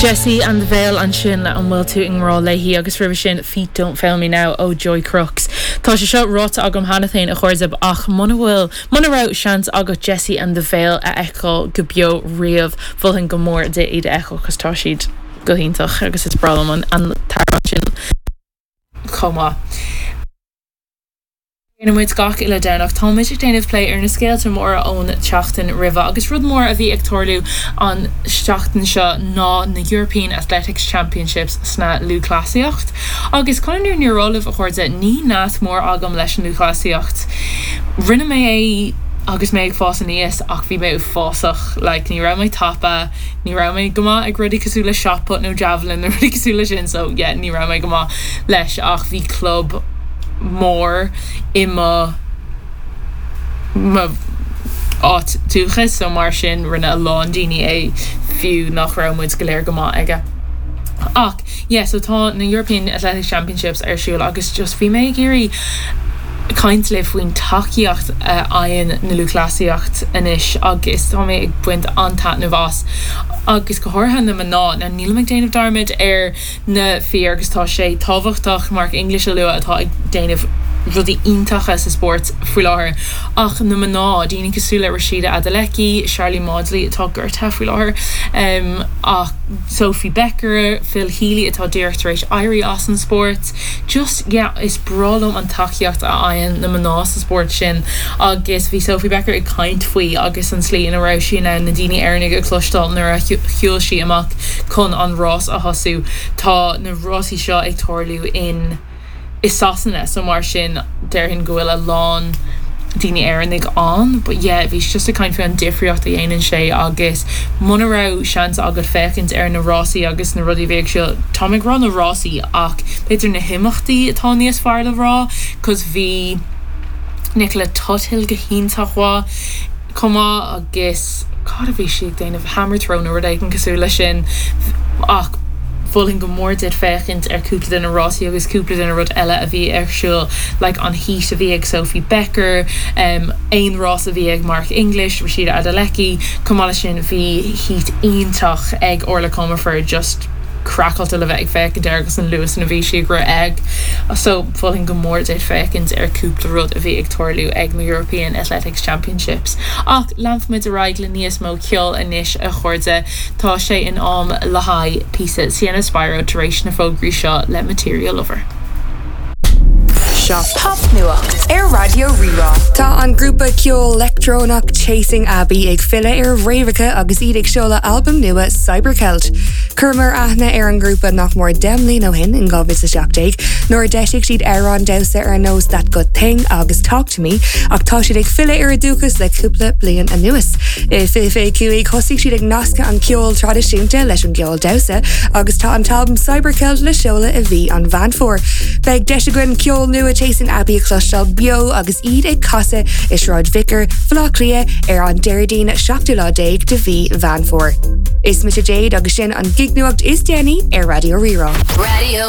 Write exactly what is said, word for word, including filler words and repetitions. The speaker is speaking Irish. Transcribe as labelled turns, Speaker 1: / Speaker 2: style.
Speaker 1: Jesse and the Veil ansin le an bhfuil tú i ngrá léi agus roimhe sin Feet Don't Fail Me Now ó Joy Crooks. Tá sé seo ráite agam cheana féin a chairde ach muna bhfuil muna raibh seans agat Jesse and the Veil a fheiceáil go beo riamh mholfainn go mór duit iad a fheiceáil cos tá siad go hiontach agus is breá liom an an t-amhrán sin chomh maith. Muid gach uile Domhnach táimid ag déanamh plé ar na scéalta móra ón tseachtain roimhe agus rud mór a bhí ag tarlú an seachtain seo ná na European Athletics Championships sna lúthchleasaíocht. Agus chun an fhírinne a rá libh a chairde ní nasc mór agam leis an lúthchleasaíocht. Rinne mé é agus mé ag fás aníos ach bhí mé uafásach like, ní raibh mé tapa, ní raibh mé go maith ag rudaí cosúil le shot put nó javelin nó rudaí cosúil le sin so yeah, ní raibh mé go maith leis ach bhí club mór i mo mo áit dúchais so mar sin rinne a lán daoine é fiú nach raibh muid go léir go maith aige. Ach yeah, so tá na European Athletic Championships ar siúl agus just bhí mé ag iarraidh caint le faoin tacaíocht a fhaigheann na lúthchleasaíocht anois agus tá mé ag baint an-taitneamh as agus go háirithe na mná na nílim ag déanamh dearmad ar na fir agus tá sé tábhachtach Mark English a lua atá ag déanamh rudaí iontacha sa spórt faoi láthair ach na mná daoine cosúil le Rhasidat Adeleke, Sharlene Mawdsley atá gortaithe faoi láthair um, ach Sophie Becker, Phil Healy atá díreach tar éis éirí as an spórt. Just yeah, is breá liom an tacaíocht a fhaigheann na mná sa spórt sin agus bhí Sophie Becker ag caint faoi agus an slí ina raibh sí na na daoine Éireannaigh a chloisteáil nuair a shiúil sí amach chun an rás a thosú tá na rásaí seo ag tarlú in i Sasana so mar sin déarfainn go bhfuil a lán daoine Éireannaigh ann, but yeah, bhí just ag caint faoi an difríocht a dhéanann sé agus muna raibh seans agat féachaint ar na rásaí agus na rudaí bhí siúl Tá ag rá na rásaí ach b'fhéidir na himeachtaí atá níos fearr le rá, cos bhí Nicola Tuthill go hiontach mhaith chomh maith agus cad a bhí sí ag déanamh hammer throw nó rud éigin cosúil leis sin ach mholfainn go mór duit féachaint ar cúpla de na rásaí agus cúpla de na rud eile a bhí ar siúl like an heat a bhí ag Sophie Becker um, aon rás a bhí ag Mark English Rhasidat Adeleke chomh maith leis sin bhí heat iontach ag Orla Comerford just craiceáilte le bheith ag féachaint air agus an luas a bhí sí ag rith ag so mholfainn go mór duit féachaint ar cúpla rud a bhí ag tarlú ag na European Athletics Championships. Ach leanfaimid ar aghaidh le níos mó ceol anois a chairde tá sé in am le haghaidh píosa Sienna Spiro tar éis na fógraí seo le Material Lover.
Speaker 2: Seo Popnuacht ar Raidió Rí-Rá.
Speaker 3: Tá an grúpa ceol leictreonach Chasing Abbey ag filleadh ar fhréamhacha agus iad ag seoladh albam nua Cybercelt. Chuireamar aithne ar an grúpa nach mór deich mbliana ó shin in dhá mhíle seacht déag, nuair a d'eisigh siad amhráin damhsa ar nós That Good Thing agus Talk to Me ach tá siad ag filleadh ar a dúchas le cúpla bliain anuas. I fiche fiche cúig thosaigh siad ag nascadh an ceol traidisiúnta leis an gceol damhsa agus tá an t-albam Cybercelt le seoladh i mhí an Mheán Fómhair. Beidh deis againn ceol nua Chasing Abbey a chloisteáil beo agus iad ag casadh i Sráid Vicar Bhaile Átha Cliath ar an Déardaoin seachtú lá déag de mhí Mheán Fómhair. Is mise Jade agus sin an gignuacht is déanaí ar Raidió Rí-Rá.
Speaker 2: Radio